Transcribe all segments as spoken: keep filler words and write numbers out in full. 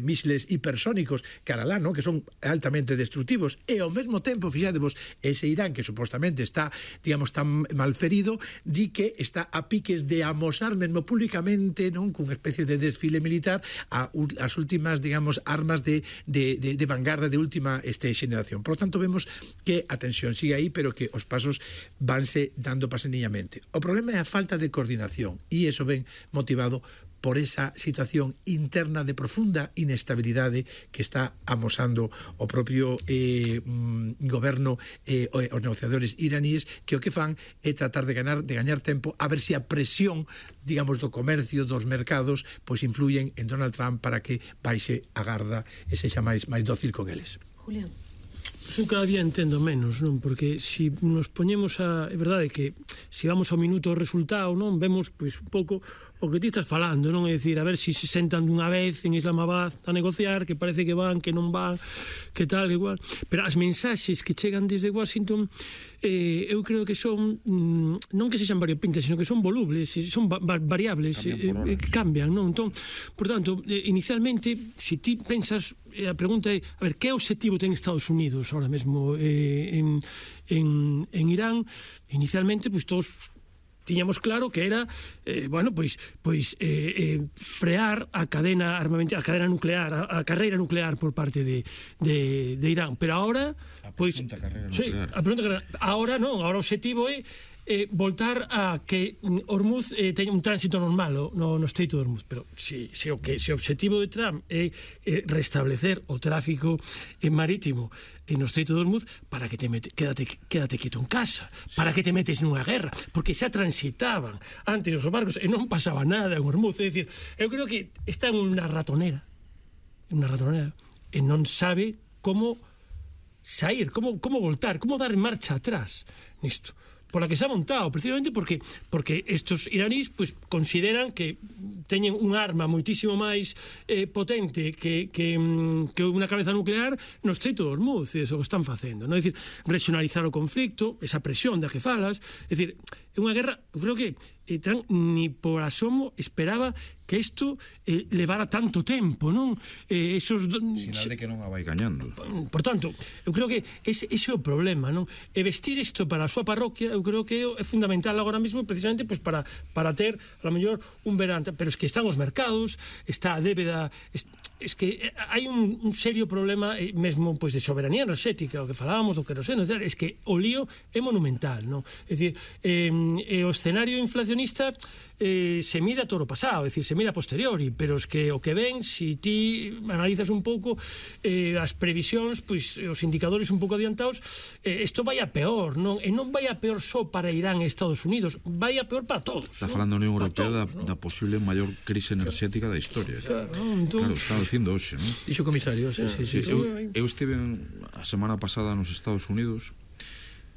mísiles hipersónicos caralá, no? Que son altamente destructivos, e ao mesmo tempo, fixadevos, ese Irán que supostamente está, digamos, tan malferido, di que está a piques de amosar mesmo públicamente, non, cunha especie de desfile militar a, as últimas, digamos, armas de, de, de, de vanguarda de última este, xeneración. Por lo tanto, vemos que a tensión sigue aí, pero que os pasos vanse dando paseniñamente. O problema é a falta de coordinación, e iso ven motivado por esa situación interna de profunda inestabilidade que está amosando o propio eh, mm, goberno e eh, os negociadores iraníes, que o que fan é tratar de ganar de gañar tempo a ver se a presión, digamos, do comercio, dos mercados, pois influyen en Donald Trump para que baixe a garda e sexa máis máis dócil con eles. Julián. Eu cada día entendo menos, non? Porque se si nos poñemos a... É verdade que se si vamos ao minuto o resultado, non? Vemos, pois, un pouco o que ti estás falando, non? É dicir, a ver se si se sentan dunha vez en Islamabad a negociar, que parece que van, que non van, que tal, igual. Pero as mensaxes que chegan desde Washington, eh, eu creo que son, mm, non que sexan variopintas, sino que son volubles, son va variables, cambian, eh, eh, cambian, non? Entón, por tanto, eh, inicialmente, se si ti pensas, eh, a pregunta é, a ver, que obxectivo ten Estados Unidos ahora mesmo eh, en, en, en Irán? Inicialmente, pois, todos tiñamos claro que era, eh, bueno, pois pois eh, eh, frear a cadena armamento, a cadena nuclear, a, a carreira nuclear por parte de, de, de Irán, pero ahora pois, sí, a pregunta carreira, ahora non, ahora o obxectivo é eh, voltar a que Hormuz eh, teña un tránsito normal no, no Estreito de Hormuz, pero se, se, o que, se o obxectivo de Trump é eh, restablecer o tráfico eh, marítimo no Estreito de Hormuz, para que te mete, quédate, quédate quieto en casa, para que te metes nunha guerra, porque xa transitaban antes os barcos e non pasaba nada en Hormuz. É dicir, eu creo que está en unha ratonera, en unha ratonera, e non sabe como sair, como, como voltar, como dar marcha atrás nisto, pola que se ha montado, precisamente porque porque estos iraníes pues, consideran que teñen un arma moitísimo máis eh, potente que, que, que unha cabeza nuclear no Estreito de Hormuz, e iso que están facendo, non? É dicir, regionalizar o conflicto, esa presión da que falas, é dicir, é unha guerra, eu creo que eh, Trump ni por asomo esperaba que isto eh, levara tanto tempo, non? Eh, esos sinal de que non a vai gañando. Por tanto, eu creo que ese, ese é o problema, non? E vestir isto para a súa parroquia, eu creo que é fundamental agora mesmo, precisamente, pues, para, para ter, a lo mellor, un verán, pero es que están os mercados, está a débeda, es, es que hai un, un serio problema eh, mesmo, pues, de soberanía enerxética, o que falábamos do queroseno, es que o lío é monumental, non? É dicir, eh, o escenario inflacionista eh, se mide a todo o pasado, é dicir, se mide a posteriori, pero es que o que ven, se si ti analizas un pouco eh, as previsións, pois os indicadores un pouco adiantados, eh, isto vai a peor, non? E non vai a peor só para Irán e Estados Unidos, vai a peor para todos. Está falando a Unión Europea da, da posible maior crise enerxética da historia. Claro, non? Entón... claro, está dicindo hoxe, non? Dixo comisario, sí, sí, sí, sí. Eu, eu estive a semana pasada nos Estados Unidos,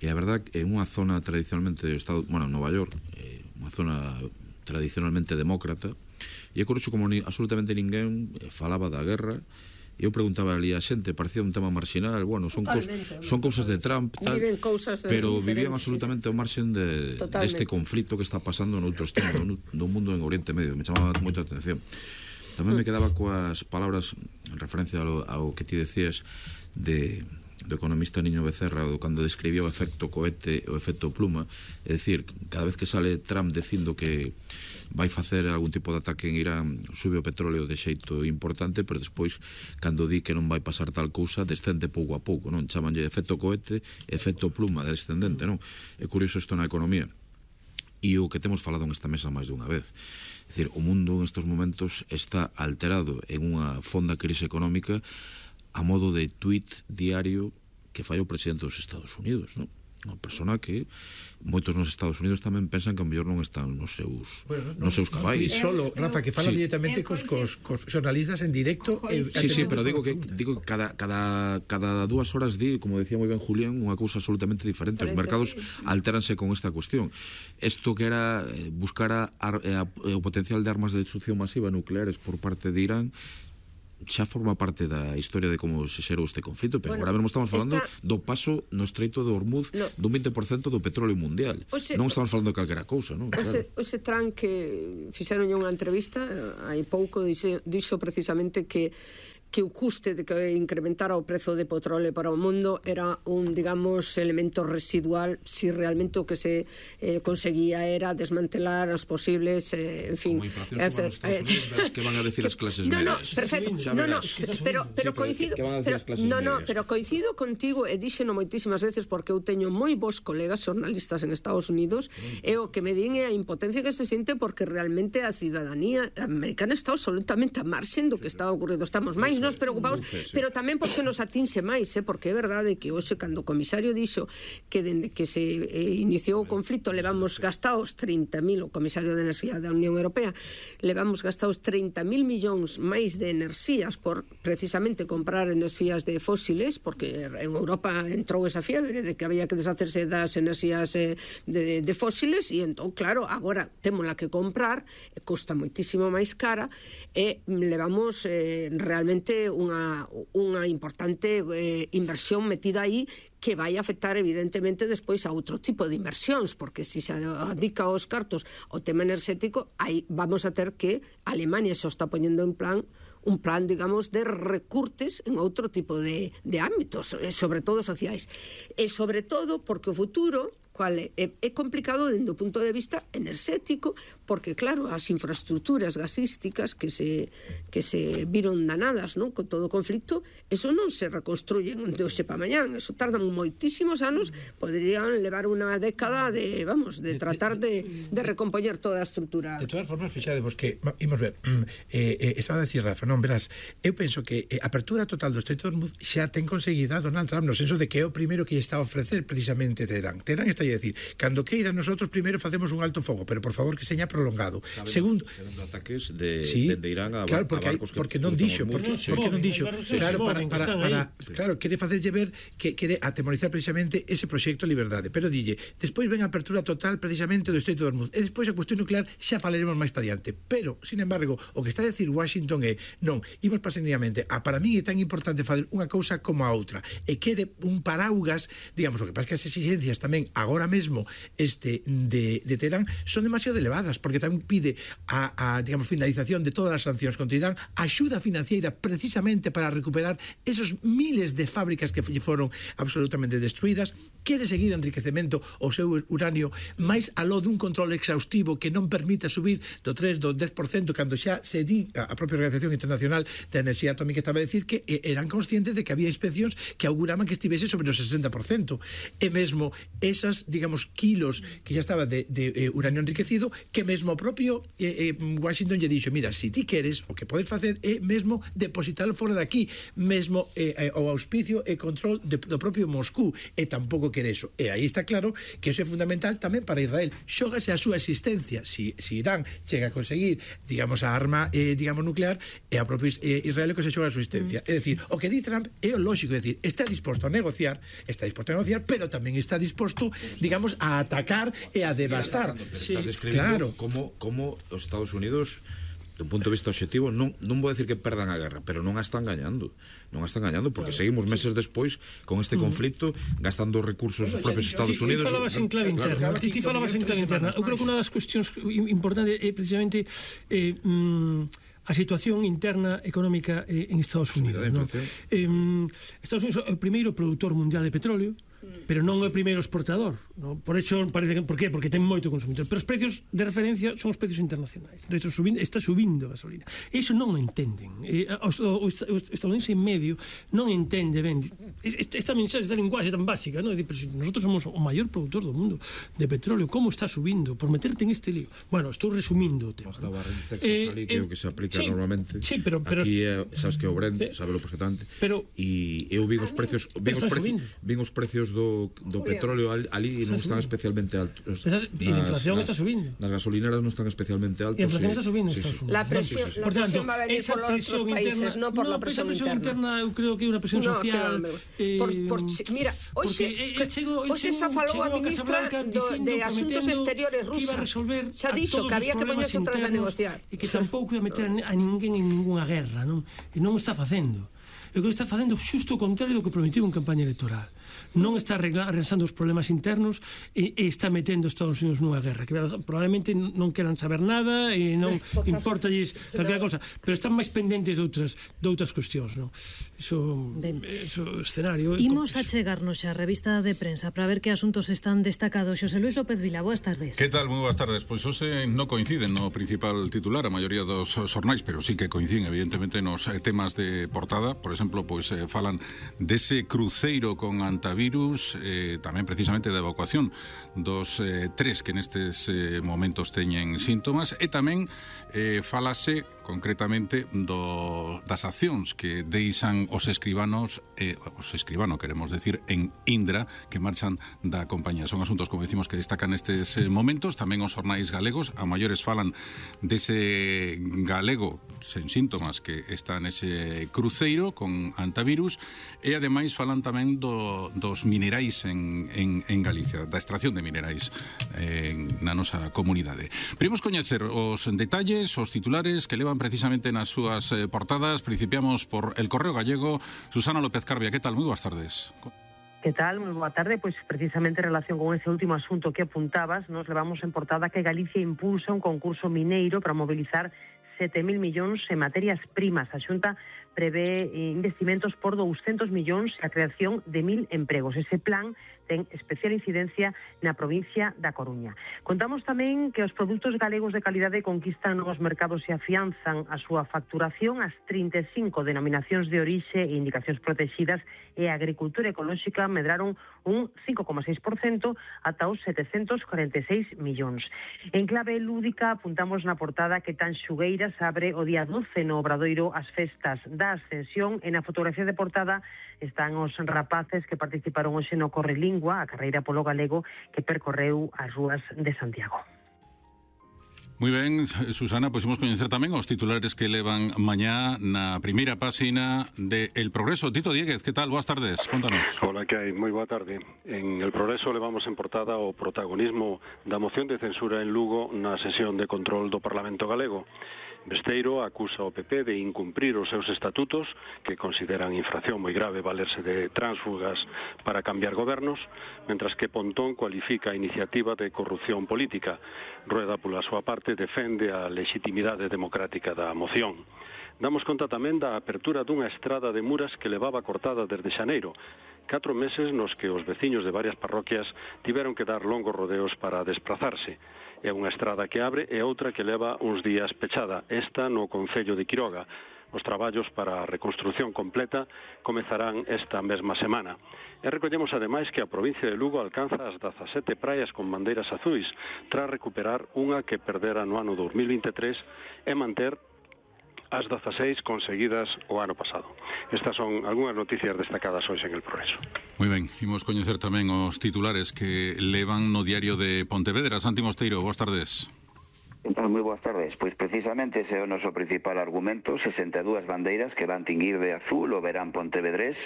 e a verdad é unha zona tradicionalmente do Estado, bueno, Nova York, é unha zona tradicionalmente demócrata, e é curioso como ni, absolutamente ninguén falaba da guerra. E eu preguntaba ali a xente, parecía un tema marxinal, bueno, son, cos, son cousas de Trump, tal, pero vivían absolutamente ao marxen de, deste conflito que está pasando noutros temas no, no mundo en Oriente Medio. Me chamaba moito a atención. Tamén me quedaba coas palabras en referencia ao, ao que ti decías de do economista Niño Becerra, cando describía o efecto cohete, o efecto pluma, é dicir, cada vez que sale Trump dicindo que vai facer algún tipo de ataque en Irán, sube o petróleo de xeito importante, pero despois, cando di que non vai pasar tal cousa, descende pouco a pouco, non? Chamanlle efecto cohete, efecto pluma descendente, non? É curioso isto na economía. E o que temos falado nesta mesa máis dunha vez, é dicir, o mundo en estes momentos está alterado en unha fonda crise económica a modo de tuit diario que fai o presidente dos Estados Unidos, non? Unha persona que moitos nos Estados Unidos tamén pensan que a mellor non están nos seus bueno, nos seus cabais. E solo, Rafa, que fala sí. directamente cos, cos, cos xornalistas en directo. Eh, sí, sí, pero digo que digo que cada, cada, cada dúas horas di, como decía moi ben Julián, unha cousa absolutamente diferente. Os mercados alteranse con esta cuestión. Isto que era buscar a, a, a, o potencial de armas de destrucción masiva nucleares por parte de Irán, xa forma parte da historia de como se xerou este conflito, pero bueno, agora mesmo estamos falando esta... do paso no Estreito de Hormuz no. dun vinte por cento do petróleo mundial. Oxe, non estamos falando de calquera cousa, non? Oxe, claro. Oxe Trump, que fixeron unha entrevista hai pouco, dixo, dixo precisamente que que o custe de que incrementara o prezo de petróleo para o mundo era un, digamos, elemento residual si realmente o que se eh, conseguía era desmantelar as posibles, eh, en fin... Como inflación eh, suba nos Estados Unidos, que van a decir as clases medias? No, no, perfecto, no, no, pero, pero coincido pero, no, no, pero coincido contigo e díxeno moitísimas veces porque eu teño moi bons colegas xornalistas en Estados Unidos e o que me din é a impotencia que se siente porque realmente a ciudadanía americana está absolutamente a marxen do que está ocurrindo. Estamos máis nos preocupamos, pero tamén porque nos atinxe máis, eh, porque é verdade que hoxe cando o comisario dixo que dende que se eh, iniciou o conflito levamos gastados trinta mil, o comisario de Enerxía da Unión Europea, levamos gastados trinta mil millóns máis de enerxías por precisamente comprar enerxías de fósiles, porque en Europa entrou esa fiebre de que había que deshacerse das enerxías eh, de, de fósiles e entón, claro, agora témola que comprar, e costa moitísimo máis cara e levamos eh, realmente unha, unha importante eh, inversión metida aí que vai afectar evidentemente despois a outro tipo de inversións, porque se se adica aos cartos ao tema enerxético, aí vamos a ter que Alemania xa está poñendo en plan un plan, digamos, de recurtes en outro tipo de, de ámbitos, sobre todo sociais. E sobre todo porque o futuro cual é, é complicado dende o punto de vista enerxético, porque claro, as infraestructuras gasísticas que se que se viron danadas, non, con todo o conflito, eso non se reconstruyen de hoxe para mañán, eso tardan moitísimos anos, poderían levar unha década de, vamos, de tratar de, de recompoñer toda a estrutura. De todas formas, fixadevos que, imos ver, eh, eh, estaba a decir Rafa, non, verás, eu penso que a apertura total do Estreito de Hormuz xa ten conseguida Donald Trump, no senso de que é o primeiro que está a ofrecer precisamente Teherán. Teherán está a decir, cando queira nosotros primeiro facemos un alto fogo, pero por favor que seña prolongado. Saben, segundo, ataques de, sí, de Irán a, claro, a porque barcos hay, porque non dixo, porque, sí, porque non dixo, sí, claro, sí, para, para, para, sí. claro, quere facerlle ver que quere atemorizar precisamente ese proxecto Liberdade, pero dille, despois ven a apertura total precisamente do Estreito de Hormuz, e despois a cuestión nuclear xa falaremos máis para diante, pero, sin embargo, o que está a decir Washington é, non, imos paseñamente, a para mí é tan importante fazer unha cousa como a outra, e quere un paraugas, digamos, o que pasa que as exigencias tamén agora mesmo este de, de Teherán son demasiado elevadas, porque tamén pide a, a digamos, finalización de todas as sancións contra Irán, axuda financiera precisamente para recuperar esos miles de fábricas que foron absolutamente destruídas, quere seguir enriquecemento o seu uranio máis aló dun control exhaustivo que non permita subir do tres, do dez por cento, cando xa se di a propia Organización Internacional de Enerxía Atómica estaba a decir que eran conscientes de que había inspeccións que auguraban que estivese sobre o sesenta por cento, e mesmo esas, digamos, kilos que xa estaba de, de eh, uranio enriquecido, que mesmo o propio eh, eh, Washington lle dixo, mira, se ti queres, o que podes facer é mesmo depositarlo fora daqui, mesmo eh, eh, o auspicio e control de, do propio Moscú, e tampouco quere eso. E aí está claro que eso é fundamental tamén para Israel. Xógase a súa existencia. Si, si Irán chega a conseguir, digamos, a arma eh, digamos, nuclear, e a propio eh, Israel que se xoga a súa existencia. Mm. É dicir, o que di Trump é o lógico, é dicir, está disposto a negociar, está disposto a negociar, pero tamén está disposto, digamos, a atacar e a devastar. Sí, está describindo, claro, como, como os Estados Unidos, dun punto de vista objetivo, non, non vou decir que perdan a guerra, pero non a están gañando, non a están gañando, porque claro, seguimos meses sí. despois con este conflito, gastando recursos os propios Estados Unidos. Ti falabas en clave interna, ti falabas en clave interna. Eu creo que unha das cuestións importantes é precisamente eh, mm, a situación interna económica eh, en Estados Unidos, ¿no? Eh, Estados Unidos é o primeiro produtor mundial de petróleo, pero non é o primeiro exportador, ¿no? Por eso parece que, por qué? Porque ten moito consumidor, pero os precios de referencia son os precios internacionais. Entonces, subindo, está subindo a gasolina. Eso non o entenden. Eh, o, o, o estadounidense en medio non entende ben esta, esta mensaxe, esta linguaxe tan básica, ¿no? Pero si nosotros somos o maior productor do mundo de petróleo, como está subindo? Por meterte en este lío. Bueno, estou resumindo o tema. Basta barra en Texas eh, ali, que é o que se aplica sí, normalmente. Sí, pero, pero aquí é, sabes que é o Brent, eh, sabelo perfectamente. Pero e eu vi os precios, vi os precios, vi os precios do, do petróleo ali non están especialmente altos. E a inflación está subindo. Nas gasolineras non están especialmente altos. E a inflación está subindo en Estados Unidos. La presión, la presión va a venir por los otros países, non por la presión interna. Eu creo que é unha presión social. Mira, hoxe xa falou a ministra de Asuntos Exteriores rusa. Xa dixo que había que poñerse outras a negociar. E que tampouco ia meter a ninguén en ninguna guerra, non? E non o está facendo. E o que está facendo xusto o contrario do que prometiu en campaña electoral. Non está arrasando os problemas internos e, e está metendo Estados Unidos nunha guerra que probablemente non queran saber nada e non importalles calquera cosa, pero están máis pendentes de outras, de outras cuestións, non? Iso, iso escenario. Imos a chegarnos xa a revista de prensa para ver que asuntos están destacados. Xosé Luis López Vila, boas tardes. Que tal? Moi boas tardes. Pois hoxe non coinciden no principal titular a maioría dos xornais, pero sí que coinciden evidentemente nos temas de portada. Por exemplo, pois eh, falan dese cruceiro con antivirus, eh, tamén precisamente da evacuación dos eh, tres que nestes eh, momentos teñen síntomas, e tamén eh, falase concretamente do, das accións que deixan os escribanos, eh, os escribanos queremos decir, en Indra, que marchan da compañía. Son asuntos, como decimos, que destacan nestes eh, momentos. Tamén os xornais galegos, a maiores falan dese galego sen síntomas que está nese cruceiro con antivirus, e ademais falan tamén do, dos minerais en, en, en Galicia, da extracción de minerais eh, na nosa comunidade. Primos coñecer os detalles, os titulares que levan precisamente nas súas eh, portadas. Principiamos por El Correo Gallego. Susana López Carbia, que tal? Moi boas tardes. Que tal? Moi boa tarde. Pois precisamente en relación con ese último asunto que apuntabas, nos levamos en portada que Galicia impulsa un concurso mineiro para mobilizar sete mil millóns en materias primas. A Xunta prevé investimentos por douscentos millóns e a creación de mil empregos. Ese plan ten especial incidencia na provincia da Coruña. Contamos tamén que os produtos galegos de calidade conquistan novos mercados e afianzan a súa facturación. As trinta e cinco denominacións de orixe e indicacións protegidas e a agricultura ecolóxica medraron un cinco coma seis por cento ata os setecentos cuarenta e seis millóns. En clave lúdica apuntamos na portada que Tanxugueiras abre o día doce no Obradoiro as festas da Ascensión, e na fotografía de portada están os rapaces que participaron hoxe no Correlingua, a carreira polo galego que percorreu as rúas de Santiago. Moi ben, Susana, pois imos coñecer tamén os titulares que levan mañá na primeira páxina de El Progreso. Tito Dieguez, que tal? Boas tardes, contanos. Hola, que hai? Moi boa tarde. En El Progreso levamos en portada o protagonismo da moción de censura en Lugo na sesión de control do Parlamento galego. Besteiro acusa o P P de incumprir os seus estatutos, que consideran infracción moi grave valerse de tránsfugas para cambiar gobernos, mentras que Pontón cualifica a iniciativa de corrupción política. Rueda, pola súa parte, defende a legitimidade democrática da moción. Damos conta tamén da apertura dunha estrada de Muras que levaba cortada desde xaneiro. Catro meses nos que os veciños de varias parroquias tiveron que dar longos rodeos para desplazarse. É unha estrada que abre e outra que leva uns días pechada, esta no concello de Quiroga. Os traballos para a reconstrución completa comezarán esta mesma semana. E recollemos ademais que a provincia de Lugo alcanza as dezasete praias con bandeiras azuis, tras recuperar unha que perdera no ano dos mil vinte e tres e manter as dezaseis conseguidas o ano pasado. Estas son algunhas noticias destacadas hoxe en El Progreso. Moi ben, imos coñecer tamén os titulares que levan no diario de Pontevedra. Santi Mosteiro, boas tardes. Entón, moi boas tardes. Pois precisamente ese é o noso principal argumento, sesenta e dúas bandeiras que van tinguir de azul o verán pontevedrés.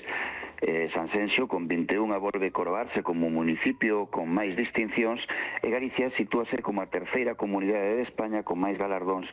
eh, Sanxenxo con vinte e unha volve coroarse como municipio con máis distincións, e Galicia sitúase como a terceira comunidade de España con máis galardóns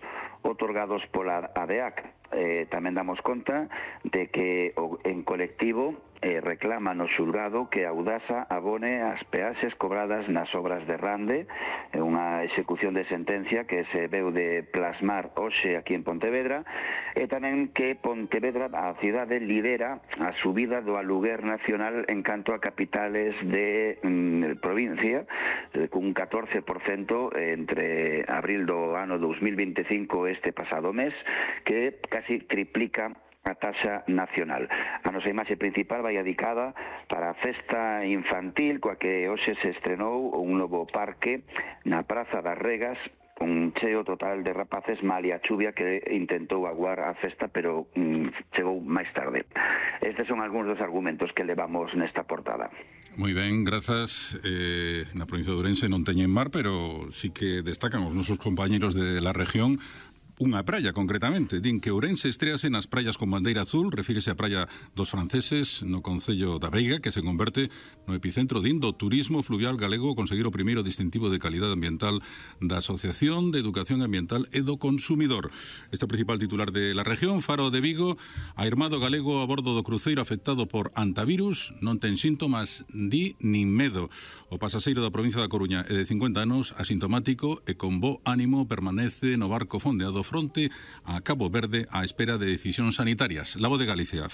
otorgados pola A D A C. Eh, tamén damos conta de que o, en colectivo eh, reclama no xulgado que Audasa abone as peaxes cobradas nas obras de Rande, eh, unha execución de sentencia que se veu de plasmar hoxe aquí en Pontevedra, e tamén que Pontevedra, a cidade, lidera a subida do aluguer nacional en canto a capitales de mm, provincia, eh, cun catorce por cento entre abril do ano dos mil vinte e cinco este pasado mes, que casi triplica a taxa nacional. A nosa imaxe principal vai dedicada para a festa infantil coa que hoxe se estrenou un novo parque na Praza das Regas, un cheo total de rapaces, malia a chuvia que intentou aguar a festa, pero mm, chegou máis tarde. Es estes son algúns dos argumentos que levamos nesta portada. Moi ben, grazas. Eh, na provincia de Ourense non teñen mar, pero sí que destacan os nosos compañeros de la región unha praia, concretamente. Din que Ourense estrease nas praias con bandeira azul, refírese a praia dos franceses no concello da Veiga, que se converte no epicentro din do turismo fluvial galego, conseguir o primeiro distintivo de calidade ambiental da Asociación de Educación Ambiental e do Consumidor. Este é o principal titular de la región. Faro de Vigo, airmado galego a bordo do cruceiro afectado por antivirus, non ten síntomas di nin medo. O pasaxeiro da provincia da Coruña é de cincuenta anos, asintomático e con bo ánimo permanece no barco fondeado fronte a Cabo Verde á espera de decisións sanitarias. La Voz de Galicia.